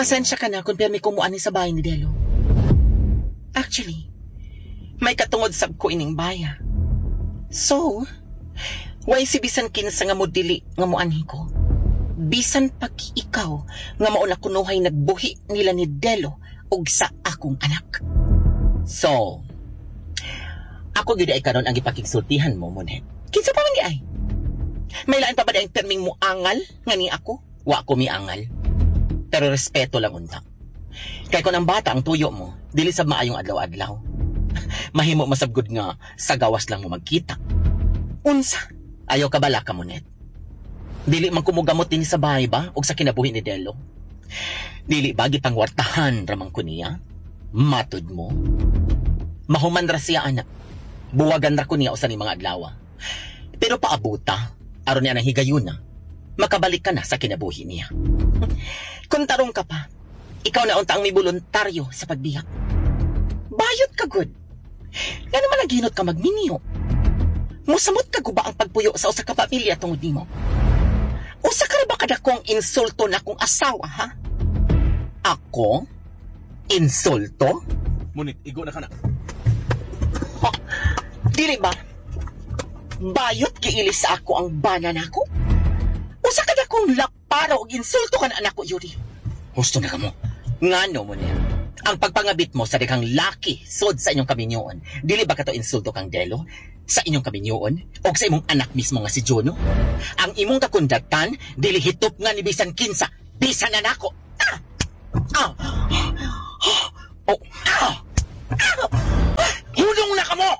Pasensya ka na kung permi ko muani sa bahay ni Delo. Actually, may katungod sab ko ining baya. So, way si bisan kinsa nga mo dili nga muanhi ko. Bisan pag ikaw nga mao na kunuhay nagbuhi nila ni Delo ug sa akong anak. So, ako gyud ay karon ang gipakigsultihan mo, Monet. Kinsa pa man di ay? May lain pa ba di ang perming mo angal nga ni ako? Wa ko miangal. Pero respeto lang unta. Kay kung ang bata ang tuyo mo, dili sab maayong adlaw-adlaw. Mahimo masabgod nga sa gawas lang mo magkita. Unsa? Ayaw ka bala ka, Monet. Dili man kumugamot din sa bahay ba og sa kinabuhi ni Delo? Dili ba gipangwartahan ramang ko niya? Matod mo. Mahuman ra siya, anak. Buwagan ra ko niya usa ni mga adlaw. Pero paabuta, aron niya nang higayuna, makabalik ka na sa kinabuhi niya. Kung tarong ka pa, ikaw na unta ang may voluntaryo sa pagbiyak. Bayot ka gud. Nga naman naginot ka magminyo. Musamot ka guba ang pagpuyo sa usa ka pamilya tungod nimo. Usa ka ra ba kadakong insulto na kong asawa, ha? Ako? Insulto? Munit, igo na ka na. Ha? Dili ba? Bayot giili sa ako ang bana nako? Usa ka dakong laparo og insulto ka na anak ko, Yuri. Husto na ka mo. Ngano mo niya? Ang pagpangabit mo sa daghang laki sod sa inyong kaminyoon, dili ba kato insulto kang Delo? Sa inyong kaminyoon o sa imong anak mismo nga si Juno? Ang imong kakundatan, dili hitop nga ni bisan kinsa, bisan na nako. Ah! Ah! Oh! Ah! Ah! Hulong na kamo!